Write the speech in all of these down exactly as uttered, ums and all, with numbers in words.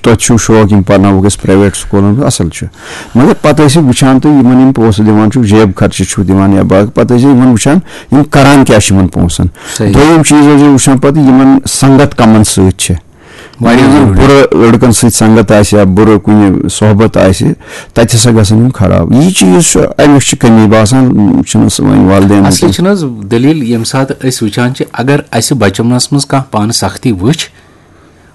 تۄہہِ چھُو شوق یِم پرناووکھ أسۍ پرٛایویٹ سکوٗلَن منٛز، اَصٕل چھُ۔ مگر پَتہٕ ٲسِو وٕچھان تُہۍ یِمَن یِم پونٛسہٕ دِوان چھِو، جیب خرچہِ چھِو دِوان یا باقٕے، پَتہٕ ٲسِو یِمَن وٕچھان یِم کَران کیٛاہ چھِ یِمَن پونٛسَن۔ صحیح۔ دوٚیِم چیٖز ٲسِو وٕچھان پَتہٕ یِمَن سنٛگت کَمَن سۭتۍ چھِ۔ واریاہ یِمَن ضروٗری۔ بُرٕ لٔڑکَن سۭتۍ سنٛگت آسہِ یا بُرٕ کُنہِ صحبت آسہِ، تَتہِ ہسا گژھن یِم خراب۔ یہِ چیٖز چھُ، اَمِچ چھِ کٔمی باسان، چھُنہٕ سُہ وۄنۍ والدین اصلی وٕنکیٚن۔ چھُنہٕ حظ دٔلیٖل، ییٚمہِ ساتہٕ أسۍ وٕچھان چھِ، اگر اَسہِ بَچپنَس منٛز کانٛہہ پانہٕ سختی وٕچھ،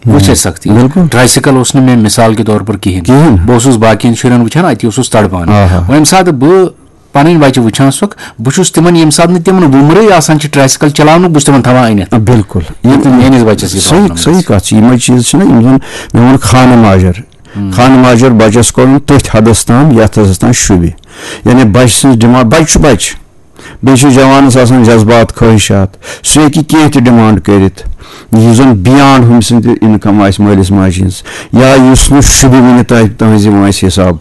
وٕچھ اَسہِ سختی۔ بِلکُل۔ ٹرائسیکل اوس نہٕ مےٚ مثال کے طور پر کِہیٖنۍ۔ کِہیٖنۍ۔ بہٕ اوسُس باقین شُرٮ۪ن وٕچھان، اَتی اوسُس تڑپان۔ آہا۔ وۄنۍ ییٚمہِ ساتہٕ بہٕ پَنٕنۍ بَچہِ وٕچھان چھُکھ، بہٕ چھُس تِمن، ییٚمہِ ساتہٕ نہٕ تِمن وُمرٕے آسان چھِ ٹرائسیکل چلاونُک، بہٕ چھُس تِمن تھاوان أنِتھ۔ آ، بِلکُل۔ یہِ تہٕ میٲنِس بَچَس یہِ صحیح، problem صحیح گژھِ۔ کَتھ چھِ۔ یِمے چیٖز چھِنہ یِم زَن مےٚ ووٚن خانہٕ ماجر۔ ہُم۔ خانہٕ ماجر بَچَس کوٚرُن تٔتھۍ حدس تام، یَتھ حدس تام شوٗبہِ۔ یعنی بَچہِ سٕنٛز ڈِمانڈ، بَچہِ چھُ بَچہِ۔ بیٚیہِ چھُ جوانَس آسان جذبات، خٲہِشات۔ سُہ ہیٚکہِ کینٛہہ تہِ ڈِمانڈ کٔرِتھ، یُس زَن beyond ہُمہِ سٕنٛدِ income آسہِ مٲلِس ماجہِ ہٕنٛز، یا یُس نہٕ شوٗبہِ وُنہِ تۄہہِ، تُہٕنٛزِ وٲنٛسہِ حِساب۔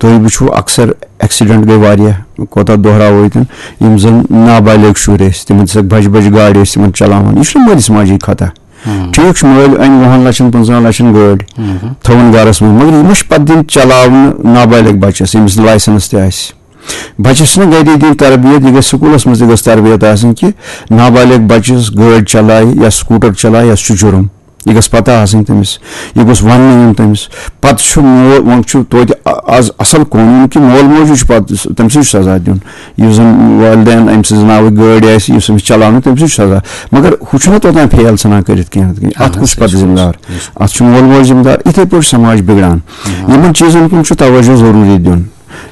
تُہۍ وٕچھِو، اکثر ایکسیڈنٹ گٔے واریاہ، کوتاہ دۄہراوو ییٚتٮ۪ن، یِم زَن نابالغ شُرۍ ٲسۍ، تِمن دِژکھ بَجہِ بَجہِ گاڑِ، ٲسۍ تِمن چلاوان۔ یہِ چھُنہٕ مٲلِس ماجہِ خطا۔ ہم۔ ٹھیٖک چھُ، مٲلۍ أنۍ وُہَن لَچھَن، پٕنٛژٕہَن لَچھَن گٲڑۍ، ہم۔ تھٲوٕن گَرَس منٛز، مگر یہِ ما چھُ پَتہٕ دِنۍ چلاونہٕ نابالغ بَچَس، ییٚمِس نہٕ لایسنس تہِ آسہِ؟ بَچَس چھِنہ گَرے دِنۍ تربیت، یہِ گژھِ سکوٗلَس منٛز تہِ گژھِ تربیت آسٕنۍ کہِ نابالغ بَچَس گٲڑۍ چلایہِ یا سکوٗٹر چلایہِ، یہِ چھُ جُرُم۔ یہِ گژھِ پَتہ آسٕنۍ تٔمِس، یہِ گوٚژھ وَننہٕ یُن تٔمِس۔ پَتہٕ چھُ مول، وۄنۍ چھُ توتہِ آ-، آز اَصٕل قونوٗن کہِ مول موجی چھُ پَتہٕ تٔمۍ سٕے چھُ سزا دیُن۔ یُس زَن والدین أمۍ سٕنٛز ناوٕکۍ گٲڑۍ آسہِ، یُس أمِس چلاونہٕ، تٔمۍ سٕے چھُ سزا۔ مگر ہُہ چھُنہ توٚتام فیل ژھٕنان کٔرِتھ کینٛہہ۔ اَتھ کُس چھُ پَتہٕ ذِمہٕ دار؟ اَتھ چھُ مول موج ذِمہٕ دار۔ یِتھَے پٲٹھۍ سماج بِگڑان۔ یِمَن چیٖزَن کُن چھُ توجہ ضروٗری دیُن۔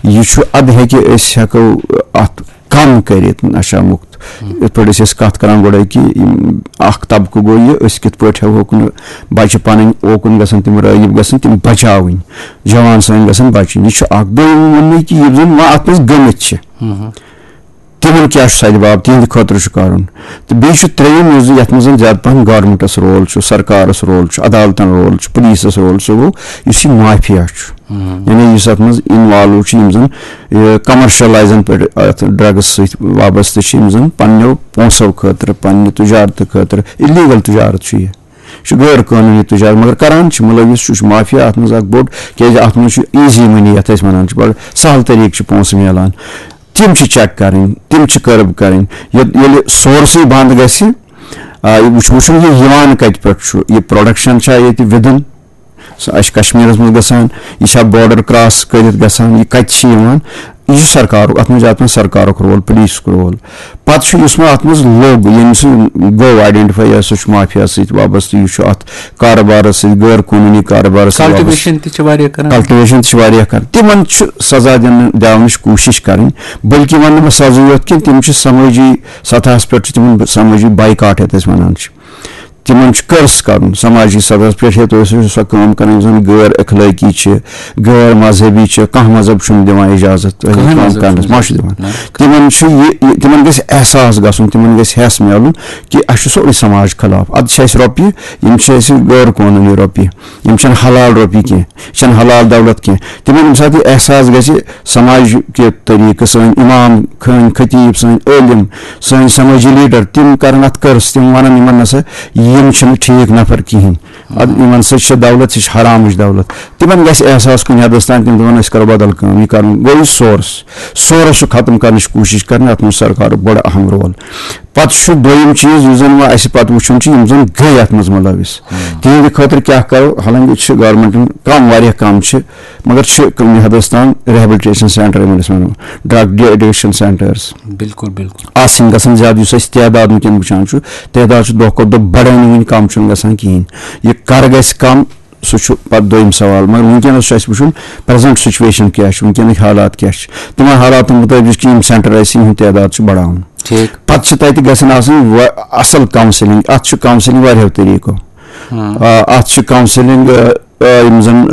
یہِ چھُ، اَدٕ ہیٚکہِ أسۍ ہٮ۪کو اَتھ کم کٔرِتھ نشہ مُکت۔ یِتھ پٲٹھۍ أسۍ ٲسۍ کتھ کران گۄڈے کہِ یِم اکھ طبقہٕ گوٚو یہِ، أسۍ کِتھ پٲٹھۍ ہٮ۪کہوکھ نہٕ بچہِ پنٕنۍ اوکُن گژھن، تِم رٲغب گژھن، تِم بچاوٕنۍ، جوان سٲنۍ گژھن بچٕنۍ۔ یہِ چھُ اکھ۔ دوٚیِم ووٚن مےٚ کہِ یِم زن وۄنۍ اتھ منٛز گٔمٕتۍ چھِ، تِمن کیٛاہ چھُ سدِ باب، تِہنٛدِ خٲطرٕ چھُ کرُن۔ تہٕ بیٚیہِ چھُ ترٛیٚیِم یُس زِ یتھ منٛز زن زیادٕ پہن گورمنٹس رول چھُ، سرکارس رول چھُ، عدالتن رول چھُ، پُلیٖسس رول، سُہ گوٚو یُس یہِ مافیا چھُ۔ یعنی یُس اتھ منٛز involve چھُ، یِم زن، یہِ، commercialization پٮ۪ٹھ اتھ drugs سۭتۍ وابستہٕ چھِ، یِم زن پننیو پونٛسو خٲطرٕ، پننہِ تجارتہٕ خٲطرٕ، illegal تجارت چھُ یہِ۔ یہِ چھُ غٲر قٲنوٗنی تجارت، مگر کران چھِ مُلوث، سُہ چھُ مافیا اتھ منٛز اکھ بوٚڑ، کیازِ اتھ منٛز چھُ easy money، یتھ أسۍ ونان چھِ، بڑٕ سہل طریقہٕ چھِ پونٛسہٕ میلان۔ تِم چھِ check کرٕنۍ، تِم چھِ curb کرٕنۍ۔ ییٚلہِ، ییٚلہِ source ٕے بنٛد گژھِ، آ، یہِ وٕچھ-، وٕچھُن یہِ یِوان کتہِ پٮ۪ٹھ چھُ، یہِ production چھا ییٚتہِ within، سُہ آسہِ کشمیرس منٛز گژھان، یہِ چھا border cross کٔرِتھ گژھان، یہِ کتہِ چھِ یِوان، یہِ چھُ سرکارُک، اتھ منٛز چھُ اتھ منٛز سرکارُک role، پُلیٖسُک role۔ پتہٕ چھُ یُس وۄنۍ اتھ منٛز لوٚگ، ییٚمہِ سۭتۍ گوٚو identify، یہِ ہسا چھُ مافیا سۭتۍ وابستہٕ، یہِ چھُ اتھ کارٕبارس سۭتۍ، غٲر قونوٗنی کارٕبارس سۭتۍ وابستہٕ۔ Cultivation تہِ چھِ واریاہ کران۔ Cultivation تہِ چھِ واریاہ کران۔ تِمن چھُ سزا دِنہٕ، دِنٕچ کوٗشش کرٕنۍ، بلکہِ ونہٕ نہٕ بہٕ سزا یوت کینٛہہ، تِم چھِ سمٲجی سطحس پٮ۪ٹھ چھِ تِمن سمٲجی boycott یتھ أسۍ ونان چھِ۔ تِمن چھُ curse کرُن سماجی سطحس پٮ۪ٹھ، ہے، تُہۍ ٲسِو سۄ کٲم کران یُس زن غٲر اخلٲقی چھِ، غٲر مذہبی چھِ، کانٛہہ مذہب چھُنہٕ دِوان اجازت تۄہہِ کٕہٕنۍ کٲم مذہب کرنس، چھُنہٕ۔ ما چھُ دِوان۔ نہ۔ تِمن چھُ یہِ، یہِ، تِمن گژھِ احساس گژھُن، تِمن گژھِ حس میلُن کہِ اسہِ چھُ سورُے سماج خلاف، ادٕ چھِ اسہِ رۄپیہِ، یِم چھِ اسہِ غٲر قونوٗنی رۄپیہِ، یِم چھِنہٕ حلال رۄپیہِ کینٛہہ، یہِ چھَنہٕ حلال دولت کینٛہہ۔ تِمن ییٚمہِ ساتہٕ یہِ احساس گژھِ سماج کہِ طریقہٕ، سٲنۍ امام، سٲنۍ خطیب، سٲنۍ عٲلم، سٲنۍ سمٲجی leader، تِم کرن اتھ curse، تِم ونن یِمن نسا یِم چھِنہٕ ٹھیٖک نفر کِہینۍ۔ ادٕ یِمن سۭتۍ چھِ دولت، یہِ چھِ حرامٕچ دولت۔ تِمن گژھِ احساس کُنہِ حدس تام، تِم دپن أسۍ کرو بدل کٲم، یہِ کرُن گوٚو یہِ source۔ Source چھُ ختم کرنٕچ کوٗشش کرٕنۍ، اتھ منٛز چھُ سرکارُک بڑٕ اہم role۔ پتہٕ چھُ دوٚیِم چیٖز یُس زن وۄنۍ اسہِ پتہٕ وٕچھُن چھُ، یِم زن گٔے اتھ منٛز مُلوث، تِہنٛدِ خٲطرٕ کیٛاہ کرو؟ حالانکہِ چھِ government ن کم، واریاہ کم چھِ، مگر چھِ کُنہِ حدس تام rehabilitation centre، یِمن أسۍ ونو drug de-addiction centres۔ بِلکُل، بِلکُل۔ آسٕنۍ گژھن زیادٕ، یُس أسۍ تعداد وٕنکیٚن وٕچھان چھُ، تعداد چھُ دۄہ کھۄتہٕ دۄہ بڑان، وٕنہِ کم چھُنہٕ گژھان کِہینۍ۔ یہِ کر گژھِ کم، سُہ چھُ پتہٕ دوٚیِم سوال۔ مگر وٕنکیٚنس چھُ اَسہِ وٕچھُن present situation کیٛاہ چھِ، وٕنکیٚنٕکۍ حالات کیٛاہ چھِ۔ تِمن حالاتن مُطٲبِق چھِ یِم centre اَسہِ، یِہُنٛد تعداد چھُ بڑاوُن۔ ٹھیٖک۔ پتہٕ چھِ تَتہِ گژھن آسٕنۍ وا-، اصل counselling۔ اتھ چھُ counselling واریاہو طریٖقو۔ آ، اتھ چھِ counselling، آ، آ، یِم زن، آ،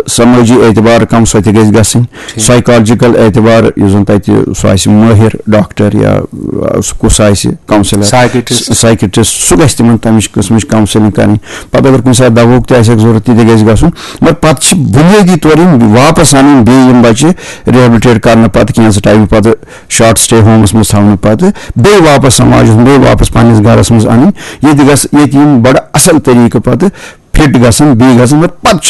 سمٲجی اعتبار کم، سۄ تہِ گژھِ گژھٕنۍ۔ ٹھیٖک۔ Psychological اعتبار یُس زن تتہِ سُہ آسہِ مٲہِر ڈاکٹر یا، آ، سُہ کُس آسہِ، counsellor، Psychiatrist۔ Psychiatrist، سُہ گژھِ تِمن تمِچ قٕسمٕچ counselling کرٕنۍ۔ پتہٕ اگر کُنہِ ساتہٕ دواہُک تہِ آسہِ ہا ضروٗرت، تہِ تہِ گژھِ گژھُن۔ مگر پتہٕ چھِ بُنیٲدی طور یِم واپس انٕنۍ، بیٚیہِ یِم بچہِ rehabilitate کرنہٕ پتہٕ، کینٛژھٕ ٹایمہٕ پتہٕ، short stay home س منٛز تھاونہٕ پتہٕ، بیٚیہِ واپس سماجس منٛز، بیٚیہِ واپس پننِس گرس منٛز انٕنۍ، ییٚتہِ گژھِ، ییٚتہِ یِم بڑٕ اصل طریقہٕ پتہٕ fit گژھن، بیٚیہِ گژھن، مگر پتہٕ چھِ